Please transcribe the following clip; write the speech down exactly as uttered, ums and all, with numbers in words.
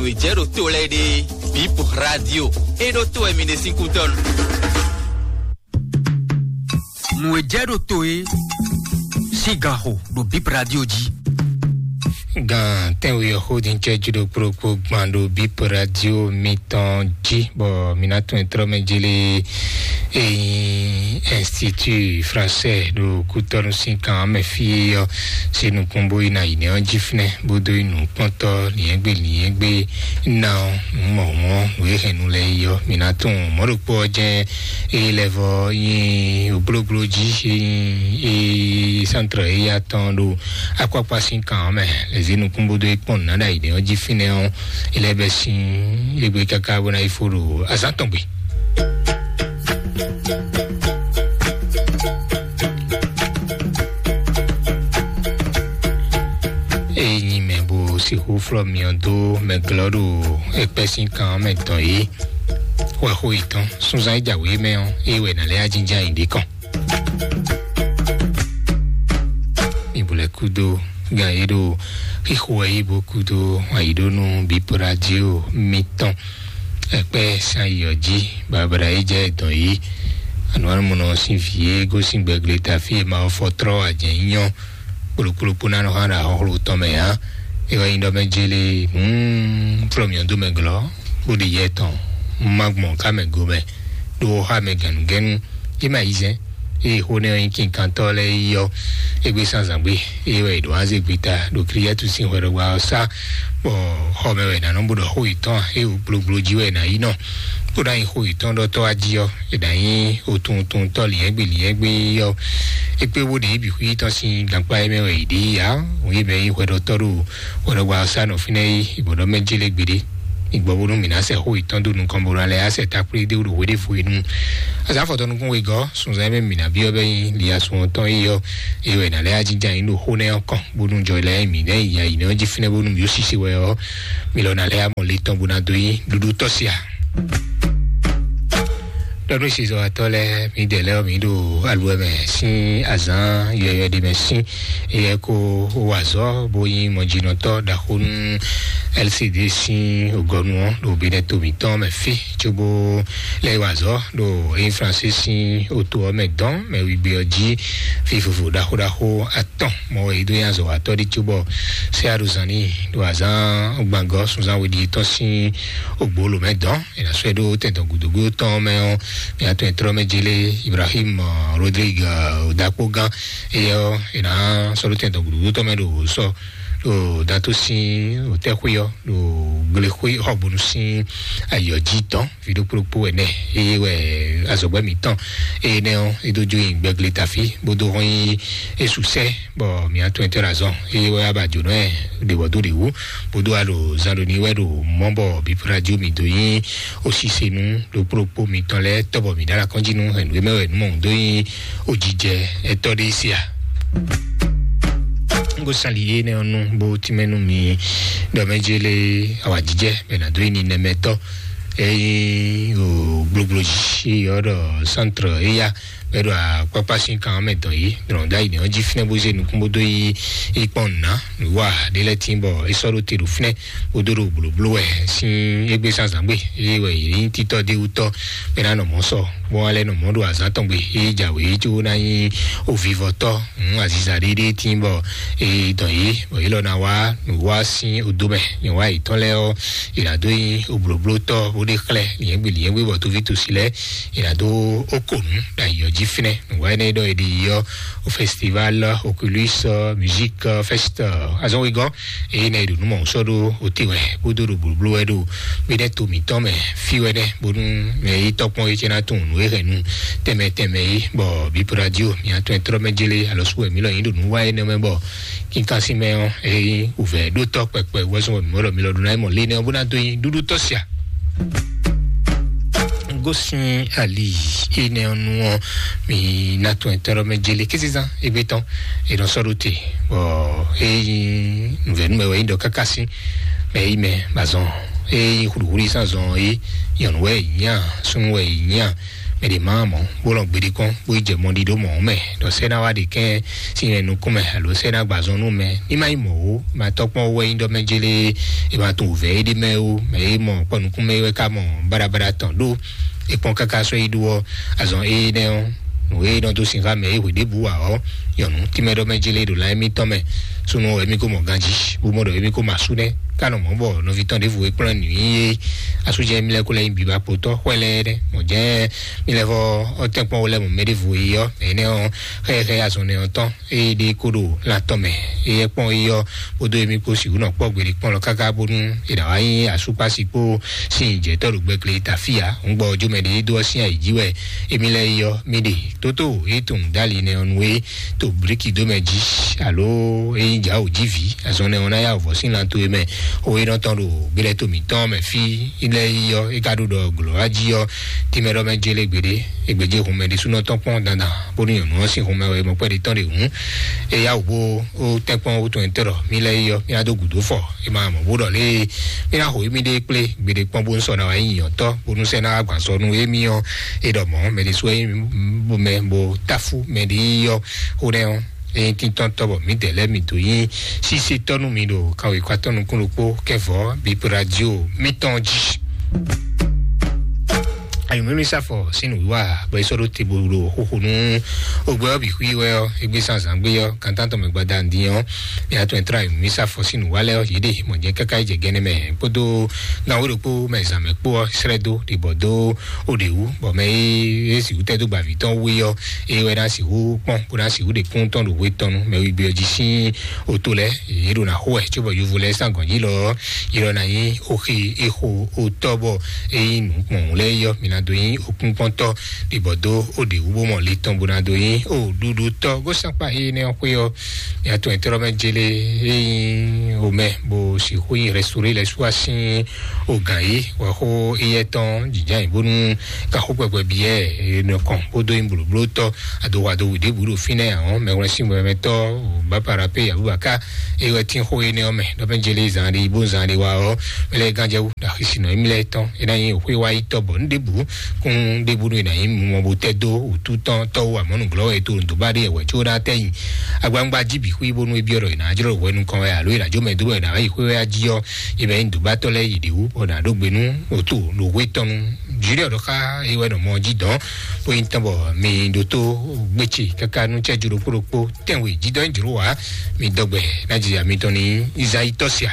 Nǔ e jɛ ɖo to lɛ́ɛ ɖe, Bip Radio. É ɖó to wɛ mi ɖe sín kútɔ́nu. Nǔ e jɛ ɖo to é sín ganxo ɖo Bip Radio jí. Gan tɛnwe ɔ́ xó din cɛ jí ɖo kplokplo gban ɖo Bip Radio mitɔn jí, bɔ mi ná tún ɛ trɔ́ mɛ jélé eyin Institut Français ɖo kútɔ́nú sín kan mɛ fí é ɔ́, sí nukún bó yi na yi nɛ́ ɔ́ jí fínɛ́, bó dó yi nǔkpɔ́ntɔ́ lǐnyɛ́gbé lǐnyɛ́gbé ná ɔ́, nǔ mɔ̌hun ɔ́, nǔ e hɛn nu lɛ́ɛ yi ɔ́, mi ná tunwun mɔ̌ ɖokpó ɔ́ jɛ́n é lɛ́ vɔ nyi oblóbló jí, é nyi é sántrɔ éya tɔn ɖo akpákpá sín kan ɔ́ mɛ. Lě zé nukún bó dó yi kpɔ́n nǔ ná ɖo ayǐ ɔ́ jí fínɛ́ ɔ́, é lɛ́ bɛ́ sín égbé káká bó ná yi fó ɖo azǎn tɔn gbe. Ényí mɛ bó sixú flɔ́ myɔ dó mɛ glɔ́ ɖo ékpɛ́ sín kan ɔ́ mɛ dɔn é, wɛ xó yětɔn súnzán é jǎwe mɛ ɔ́, é wɛ nǎ lɛ́ ajínján yi ɖě kɔn. Mi bu lɛ́ kúdó gan e ɖo xixo wɛ yí bó kúdó ayǐɖónú bíprádio mitɔn. Ɛkpɛ́ san yi ɔ́ jí, babla é jɛ dɔn yí. Anǔ anúmɔnɔ sín vǐ e gosín gbɛgle ta fí e ma ɔ́ fɔ tlɔ́ ajɛ̌ nyɔ kplokplokpó ná nɔ xá ɖo axɔxló tɔn mɛ ǎ. É wɛ nyí ɖɔ mɛ jélé hǔn flɔ́ mǐ ɔ́ dó mɛ glɔ́, bó ɖe yɛ tɔn má gbɔn ká mɛ go mɛ, ɖó xá mɛ gɛ̌nugɛ́nu. É ma yi zɛ́n, ée xó nɛ́ ɔ́ nyí kinkantɔ́ lɛ́ɛ yi ɔ́, égbé zán zǎngbé, é wɛ è ɖǒ wá zé gbeta ɖo Kliyɛ́tu sín hwɛɖɔgbá ɔ́ sá, bɔ xɔ mɛ wɛ è nǎ nɔ bó ɖɔ xó yětɔn ǎ, é wú gblogblo jí wɛ è nǎ yi nɔ, bó ná nyí xó yětɔn ɖɔtɔ́ wá jí ɔ́, è nǎ nyí otunwuntɔntɔ́ lǐnyɛ́gbé lǐnyɛ́gbé ɔ́. É kpé bó ɖe yě bǐ xwí tɔn sín gankpá é mɛ wɛ è ɖe yí ǎ, òun yě mɛ nyí hwɛɖɔtɔ́ ɖo hwɛɖɔgbá ɔ́ sá nɔ fínɛ́ yí, è bɔ ɖɔ mɛ jélé gbeɖé. Mi gbɔ bónú mǐ ná sɛ xó yětɔn dó nukɔn bó ná lɛ́ asɛ takplé dé ɖo hweɖévú e nu. Azǎn afɔtɔn nukún wegɔ́ sunzan e mɛ mǐ ná byɔ́ bɛ́ nyí liasun ɔ́ tɔn é ɔ́, é wɛ è nǎ lɛ́ ajínján nyí ɖo xó nɛ́ ɔ́ kɔn, bónú jɔ lɛ́ɛ mǐ nɛ́ yi ayi nɛ́ ɔ́ jí fínɛ́ bónú mǐ ó sise wɛ ɔ́, mi lɔ ná lɛ́ amɔ le tɔn bó ná dó nyí ɖuɖu tɔ́ sia. Ɖɔ nú sisɔatɔ́ lɛ́ɛ, mǐdɛɛ lɛ́ɛ ɔ́, mǐ ɖo aluwɛ mɛ sín azǎn yɔyɔ ɖé mɛ sín. Éyɛ́ kó wa azɔ̌ bó nyí mɔjínɔtɔ́ ɖaxó nú L C D sín ògɔ́nu ɔ́ ɖo Benɛto mǐtɔn mɛ fí, cóbó lɛ́ wa azɔ̌ ɖo Air France sín oto ɔ́ mɛ dɔn mɛ wigbe ɔ́ jí. Fí vovo ɖaxó ɖaxó atɔn mɔ wɛ yě dó nyí azɔ̌watɔ́ ɖé cóbɔ sɛ́ aɖozán n'i ɖo azǎn gbangɔ́ sunzán we ɖíe tɔn sín ogbolo mɛ dɔn. È nǎ sɔ́ ɛ ɖó tɛn dɔn gǔdo gúdo tɔn mɛ ɔ́, mi atɔn e tlɔ́ mɛ jélé Ibrahim, ɔ, Rodrigue, ɔ, Dakpogán, éyɛ́ ɔ́, è nǎ sɔ́ ɖó tɛn dɔn gǔdo gúdo tɔn mɛ ɖo sɔ ɖo Dato sín òtɛ́xwé ɔ́, ɖo glexwé xɔgbonu sín ayǐ ɔ́ jí tɔn, ví ɖokpó ɖokpó ɛnɛ, eye wɛ azɔ̌gbɛ́ mǐtɔn, eye nɛ́ ɔ́, é dó jó nyi gbɛgle tafí, bó dó hɔn nyi é su sɛ́, bɔ mi atɔn e tlɔ́ azɔn, eye wɛ á ba jǒnɔ ɛ ɖě bɔ dó ɖě wú, bó dó alɔ zan ɖo ní wɛ ɖo mɔ̌ bɔ bǐ radio mǐ dó nyí osisenu ɖokpó ɖokpó mitɔn lɛ́ɛ tɔ́ bɔ mǐ ɖó alɔ kɔn jí nú hɛ̌nnu e mɛ wɛ nǔ mɔ̌hun dó nyí ojijɛ ɛtɔ́ ɖé sia. Ngo sali yé nɛ ɔ́ nú bó tínmɛ nú mi ɖɔ mɛ jélé awǎjijɛ bɛ nǎ dó nyí ninɛmɛtɔ́. Ényí o gblogblo jí yɔ ɖɔ centre éya bɛ ɖo akpákpá sín kan mɛ dɔn yìí, dɔn ɖ'ayǐ nɛ ɔ́ jí fínɛ́ bó zé nukún bó dó yi yi kpɔn nǔ ná nǔ wa ɖé lɛ́ɛ tín bɔ é sɔ́ ɖó te ɖo fínɛ́. Wodó ɖo blǒbló wɛ sín égbé zǎnzǎn gbe, eye wɛ yě nyí títɔ́ d'é wú tɔ́, bɔ é ná nɔ mɔ̌ sɔ, bó wá lɛ́ nɔ mɔ̌ ɖo azǎn tɔn gbe, eye jǎwe é có ná nyí ovivɔtɔ́, hǔn aziza ɖéɖé tín bɔ é dɔn yě, bɔ yě lɔ ná wá nǔ wá sín odó mɛ. Nyɔ̌wá yětɔn lɛ́ɛ ɔ́, è nǎ dó nyí oblǒblótɔ́, bó ɖe xlɛ́ lyɛ̌ngbé lyɛ̌ngbé, bɔ tóví tòsí lɛ́ɛ è nǎ dó óko nǔ ɖo ayǐ ɔ́ jí fínɛ́. Nǔwá énɛ́ ɖɔ è ɖi yi ɔ́, au festival Oculus, euh, Music, euh, Fest, euh, azɔn wegɔ́. Eye nɛ ɖo nú mɔ sɔ́ ɖó ote wɛ, bó dó ɖo blǒbló wɛ ɖo gbéɖɛ́ to mǐtɔn mɛ fí wɛ nɛ́, bónú mɛ yi tɔ́kpɔ́n yi cɛ ná tunwun nǔ e hɛn nu tɛnmɛ tɛnmɛ yi, bɔ bípo radio mi atɔn e tlɔ́ mɛ jélé alɔ sú wɛ mǐ lɔ nyi ɖo nǔ wa énɛ́ mɛ, bɔ kínkan sín mɛ ɔ́, eye wǔvɛ́ ɖó tɔ́ kpɛkpɛ wɛzɔn wɛ mǐ mɔ ɖɔ mi lɔ ɖo ná yi mɔ lé nɛ́ ɔ́ bó ná dó nyi ɖúɖú tɔ́ sia. Gosín ali énɛ́ ɔ́ nu ɔ́, mi ná tún ɛ tɔ́ ɖɔ mɛ jélé kézezán égbé tɔn, è nɔ sɔ́ ɖó te, bɔ é nyí nǔvɛ́nú mɛ wɛ é nyí ɖɔ káká sín mɛ é nyí mɛ ba zɔn, é nyí hluhlu yi sán zɔn é nyɔ̌nu wɛ é nyí a, súnnu wɛ é nyí a, Mɛ ɖě ma mɔ bó lɔn gbeɖé kɔn bó yi jɛ mɔ ɖiɖó mɔ̌ mɛ, ɖɔ sɛ́ ná wá ɖe kɛn sín mɛ nukún mɛ alo sɛ́ ná gbazɔn nú mɛ. Ní má yi mɔ̌ ó, ma tɔ́kpɔ́n wɛ nyí ɖɔ mɛ jélé, è ma tunwun vɛ̌ é ɖé mɛ ó. Mɛ é mɔ kpɔ nukún mɛ é wɛ ká mɔ baɖabaɖa tɔn ɖó. È kpɔn káká sɔ́ yi ɖó ɔ́, azɔn énɛ́ ɔ́, nǔ e nɔ dó sin xá mɛ é hwe ɖěbǔ wa ɔ́, nyɔ̌nu tínmɛ ɖɔ mɛ jélé ɖo lan émítɔn mɛ. Súnnu wɛ mí ko mɔ ganjí, bó mɔ ɖɔ émí ko mɔ asú nɛ́, ká nɔ mɔ̌ bɔ nɔví tɔn ɖěvo e kplɔ́n nǔ nyi é. Asú jɛ mí lɛ́ kó lɛ́ nyí biba kpotɔ́ xwɛ lɛ́ɛ nɛ́. Mɔ̌ jɛ́n mí lɛ́ vɔ ɔ́ tɛ́nkpɔ́n wo lɛ́ mɔ mɛ ɖěvo e yí ɔ́, mɛ énɛ́ ɔ́ xɛxɛ azɔn nɛ́ ɔ́ tɔn. Ée ɖe kó ɖo lan tɔn mɛ, éyɛ́ kpɔ́n é ɔ́, kpódó émí kpó sixú nɔ kpɔ́ gbeɖé kpɔ́n lɔ káká bónú è nǎ wá nyí asúkpási kpó sin jɛ̌tɔ́ ɖo gbɛkle tafíya. Ŋgbɔ jómɛ ɖé dó ɔ́ sín ayǐ jí wɛ émí lɛ́ɛ é ɔ́, mí ɖe tótó é tunwun dó ali nɛ ɔ́ nu é to blíkì dó mɛ jí, alo é nyí jǎ wǒ jí vǐ, azɔn nɛ ɔ́ ná yá wǒ vɔ sín lan towe mɛ. Xó é nɔ tɔn ɖo gbéɖɛ́ to mǐtɔn mɛ fí lɛ́ɛ é ɔ́, é ka ɖo ɖɔ glɔ̌ wá jí ɔ́, tínmɛ ɖɔ mɛ jélé gbeɖé. Ègbèje hun mɛ ɖésúnɔ tɔn kpɔ́n dandan, bónú nyɔ̌nu ɔ́ sín hun mɛ wɛ mɔ kpɛ́ɖé tɔn ɖe hǔn. Éyá wò bó ó tɛ́nkpɔ́n wú tɔn nyɛtɔ́ ɖɔ mí lɛ́ɛ yi ɔ́, mí ná dó gǔdo fɔ. É ma mɔ bó ɖɔ lé, mí ná xo émí ɖe kplé gbeɖé kpɔ́n bónú sɔ ná wá nyí nyɔ̌tɔ́, bónú sɛ́ ná wá gbǎn sɔ nú émí ɔ́. É ɖɔ mɔ̌ mɛ ɖésú é mɛ bo táfú mɛ ɖé yi ɔ́, xó nɛ́ ɔ́. Eye tíntɔ́n tɔ́ bɔ mǐdɛɛ lɛ́ɛ mi dó nyí sísé tɔ́ nú mi ɖo kanwekwa tɔn nukún ɖokpó kɛvɔ́ bíbí radio mítɔn jí. Ayɔ̀mímí sáfɔ sín nǔwiwa bɔ é sɔ́ ɖó te bo ɖo xóxó nú ogbɛ ɔ́ bǐ xwí wɛ ɔ́, égbé zán zǎngbé ɔ́, kantántɔn mɛ gbada ndin ɔ́, mí atɔn e tlá ayɔ̀mímí sáfɔ sín nǔwa lɛ́ɛ ɔ́, yě ɖe mɔ̌ jɛ káká yi jɛ gɛnɛ mɛ kpódó gan wé ɖokpó mɛ zǎn mɛ kpó ɔ́, srɛ́ dó ɖibɔ dó ó ɖě wú, bɔ mɛ e é sixú tɛ́ dó gbavǐ tɔn wé ɔ́, é wɛ ná sixú kpɔ́n bó ná sixú ɖe kún tɔn ɖo hwe tɔn nu mɛ wígbé ɔ́ jí sín oto lɛ́ɛ. Yě ɖo ná xo wɛ cóbɔ yovo lɛ́ɛ sín agɔ̌n jí lɔ ɔ́, yě lɔ ná nyí oxe exo otɔ́ bɔ é nyí nǔ kpɔn lɛ́ɛ yɔ mǐ ná dó nyí okúnkpɔ́ntɔ́ ɖibɔ dó ó ɖě wú bó mɔ le tɔn bó ná dó nyí ó ɖuɖutɔ́ gosakpa énɛ́ ɔ́ xwé ɔ́. Mí atɔn e tlɔ́ mɛ jélé é nyí omɛ bó sixú nyí restauré lɛ́ɛ sú asín o gǎn yí wɛ xó éyɛ́ tɔn jǐjá nyi bónú ka xó kpɛkpɛ byɔ́ ɛ nɔ kɔn bó dó nyí blǒblótɔ́ adowa do wǔ ɖěbǔ ɖo fínɛ́ ahɔn mɛwlɛ́sín mɛmɛtɔ́ bápara pé abubaka é wɛ tín xó énɛ́ ɔ́ mɛ ɖɔ mɛ jélé zan ɖé bó zan ɖé wa ɔ́ mɛ lɛ́ɛ gánjɛ wú ɖo axisi nɔ émí lɛ́ɛ tɔn é ná nyí xwé wá yi tɔ́ bɔ nú ɖěbǔ kún ɖěbǔ nú è nǎ nyí mɔ bó tɛ́ dó wǔtú tɔn tɔ́wú amɔ̌ nǔglɔ́ wɛ é to nǔdó bá ɖé wɛ có ɖá tɛ́ nyi agbangba jí bǐ xwí bónú é byɔ́ ɖɔ è nǎ jlɔ́ hwɛ nukɔn wɛ alo è nǎ jó mɛ dó bɔ è nǎ wá yi xwé wɛ á jí ɔ́, é mɛ nyí dǒbátɔ́ lɛ́ɛ yi ɖě wú bɔ è nǎ ɖó gbe nú òto ɖo hwé tɔn nu. Jǐɖɛ ɖɔ xá é wɛ nɔ mɔ jí dɔn bó nyí tɔn bɔ mi ɖótó gbétsè káká nú cɛ́jú ɖokpó ɖokpó tɛnwe jídɔ́ jlǒ wá mi dɔgbɛ ná jija mitɔn ní Izayi tɔ́ sia.